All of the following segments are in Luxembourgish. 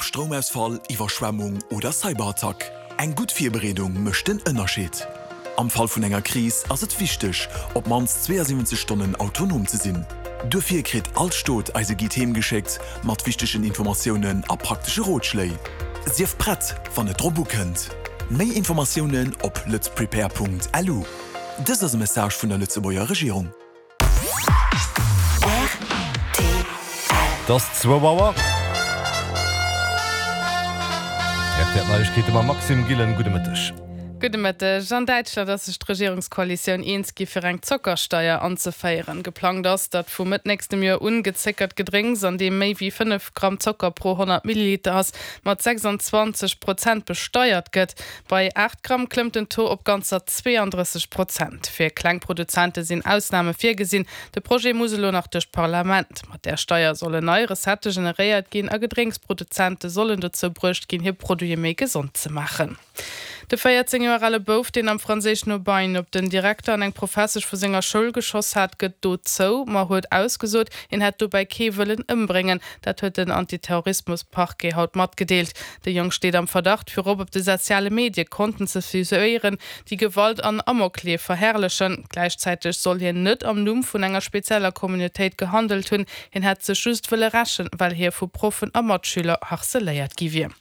Ob Stroumausfall, Iwwerschwemmung oder Cyberattack, eng gutt Virbereedung mécht den Ënnerscheed. Am Fall vun enger Kris ass et wichteg, op d'mannst 72 Stonnen autonom ze sinn. Duerfir kritt all Stot eise Guide heem geschéckt mat wichtegen Informatiounen a praktesche Rotschléi. Sief prett, wann et drop ukënnt! Méi Informatiounen op lëtzprepare.lu. Dëst ass e Message vun der Lëtzebuerger Regierung. Et ass zwou Auer. RTL Neiegkeete mam Maxime Gillen. Gudde Mëtteg. Gudde Mëtteg. An Däitschland ass sech d'Regierungskoalitioun eens gi fir eng Zockersteier anzeféieren. Geplangt ass, datt vu Mëtt nächstem Joer un gezéckert Gedrénks, an deem méi wéi 5 Gramm Zocker pro 100 Milliliter ass, mat 26 Prozent besteiert gëtt. Bei 8 Gramm klëmmt den Taux op ganzer 32 Prozent. Fir kleng Produzente sinn Ausname virgesinn. De Projet muss elo nach duerch d'Parlament. Mat där Steier sollen nei Recettë generéiert ginn a Gedrénksproduzente sollen dozou bruecht ginn, hir Produite méi gesond ze maachen. De 14 Joer ale Bouf, deen am franséischen Aubagne op den Direkter an eng Professesch vu senger Schoul geschoss hat, gëtt d'Dot zou, ma huet ausgesot, hien hätt dobäi kee wëllen ëmbréngen. Dat huet den Antiterrorismus-Parquet haut matgedeelt. De Jong steet am Verdacht, virop op de soziale Medie Konten ze fuséieren, déi Gewalt an Amokleef verherrlechen. Gläichzäiteg soll hien net am Numm vun enger spezieller Communautéit gehandelt hunn, hien hätt sech just wëlle rächen, well hie vu Proffen a Matschüler harceléiert gi wier.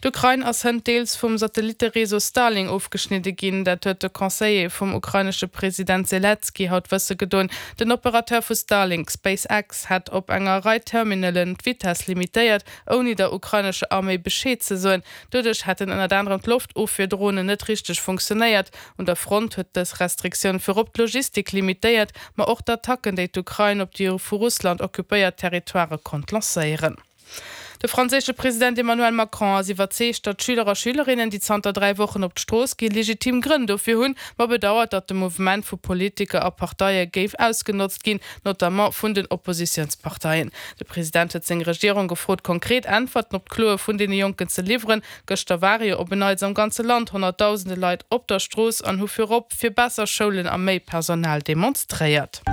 D'Ukrain ass hënt deels vum Satellittereseau Starlink ofgeschnidde ginn. Dat huet de Conseiller vum ukrainesche President Selenskyj haut wësse gedoen. Den Operateur vu Starlink, SpaceX, hätt op enger Rei Terminalen d'Vitess limitéiert, ouni der ukrainescher Arméi Bescheed ze soen. Doduerch hätten ënnert anerem d'Loftofwierdronen net richteg funktionéiert. Un der Front huet dës Restriktioun virop d'Logistik limitéiert, ma och d'Attacken, déi d'Ukrain op déi vu Russland occupéiert Territoirë konnt lancéieren. De franséische President Emmanuel Macron ass iwwerzeegt, datt d'Schüler a Schülerinnen, déi zanter 3 Wochen op d'Strooss ginn, legitim Grënn dofir hunn, ma bedauert, datt de Mouvement vu Politiker a Parteie géif ausgenotzt ginn, notamment vun den Oppositiounsparteien. De President huet seng Regierung gefrot, konkret Äntwerten op d'Kloe vun deene Jonken ze liwweren. Gëschter ware jo op en Neits am ganze Land honnertdausende Leit op der Strooss an hu virop fir besser Schoulen a méi Personal demonstréiert.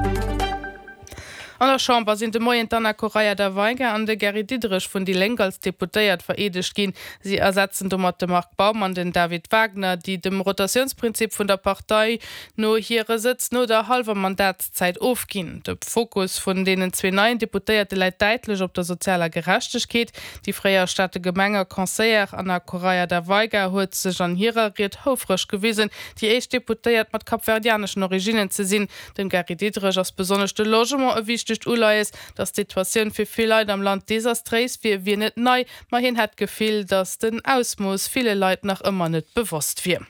An der Chamber sinn de Moien d'Ana Correia da Veiga an de Gary Diderich vun déi Lénk als Deputéiert vereedegt ginn. Si ersetzen domat de Marc Baum an den David Wagner, déi dem Rotatiounsprinzip vun der Partei no hire Sëtz no der hallwer Mandatszäit ofginn. De Fokus vun deenen zwee neien Deputéierte läit däitlech op der sozialer Gerechtegkeet. Déi fréier Stater Gemeng a Conseillère Ana Correia da Veiga huet sech an hirer Ried houfreg gewisen, déi éischt Deputéiert mat kapverdianeschen Originnen ze sinn. Dem Gary Diderich ass besonnesch de Logement e wichtegt Uleies. Datt d'Situatioun fir vill Leit am Land desastréis wier, wier net nei, ma hien hätt d'Gefill, datt den Ausmooss ville Leit nach ëmmer net bewosst wier.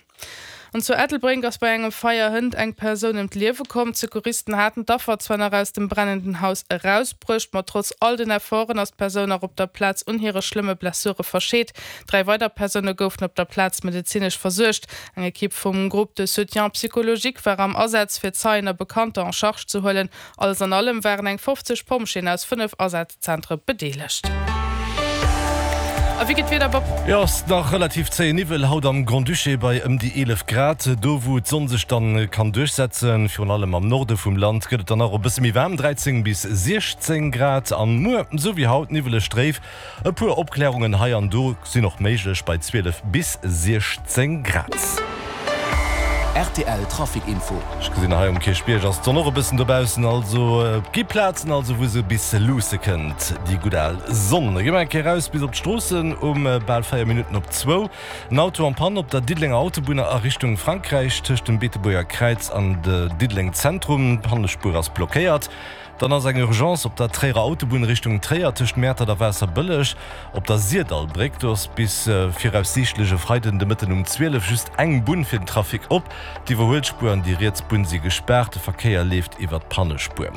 An zu Ettelbréck ass bei engem Feier hënt eng Persoun ëm d'Liewe komm. D'Secouristen haten d'Affer zwar nach aus dem brennenden Haus erausbruecht, ma trotz all den Efforten ass d'Persoun nach op der Plaz un hire schlëmme Blessure verscheet. 3 weider Persoune goufen op der Plaz medezinesch versuergt. Eng Ekipp vum Groupe de soutien psychologique war am Asaz, fir Zeien a Bekannter en charge ze huelen. Alles an allem waren eng 50 Pompjeeën aus 5 Asazzentre bedeelegt. A wéi geet d'Wieder, Bob? Jo, ass nach relativ zéie Niwwel haut am Grand-Duché bei ëm déi 11 Grad. Do wou d'Sonn sech dann kann duerchsetzen, virun allem am Norde vum Land, gëtt et dann nach e bësse méi waarm, 13 bis 16 Grad. An muer, sou wéi haut, niwweleg dréif. E puer Opklärungen hei an do sinn och méiglech bei 12 bis 16 Grad. Rtl Trafic Info. Ech gesinn hei um Kierchbierg ass d'Sonn och e bëssen dobaussen, also et gi Plazen also wou se bis luusse kënnt, déi gutt al Sonn. Da gi mer eng Kéier raus bis op d'Stroossen um bal 4 Minutten op zwou. En Auto en panne op der Diddelenger Autobunn a Richtung Frankräich tëscht dem Beetebuerger Kräiz an de Diddeleng Zentrum. D'Pannespuer ass blockéiert. Dann ass eng Urgence op der Tréierer Autobunn Richtung Tréier tëscht Mäertert a Waasserbëlleg op der Sirdallbréck. Do ass bis viraussiichtlech e Freiden de Mëtten um 12 just eng Bunn fir den Trafic op. D'Iwwerhuelspuer an déi riets Bunn si gespaart, de Verkéier leeft iwwer d'Pannespuer.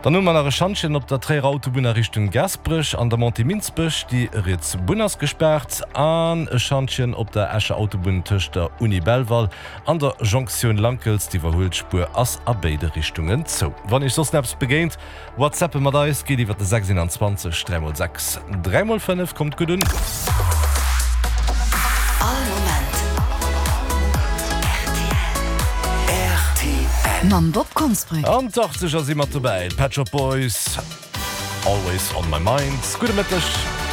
Dann hu mer nach e Schantjen op der Tréierer Autobunn a Richtung Gaasperech an der Montée Minsbech, déi riets Bunn ass gespaart. An e Schantjen op der Escher Autobunn tëscht der Uni Belval An der Jonktioun Lankels, d'Iwwerhuelspuer ass a béide Richtungen zou. Wann Iech soss nach eppes begéint, Whatsappe mat eis, geet iwwer de 6 21 3 x 6 3 x 5. Kommt gutt un! All Moment rtl. Mam Bob Konsbrück. An d'Achtzeger si mat dobäi, d'Pet Shop Boys, Always on my mind. Gudde Mëtteg.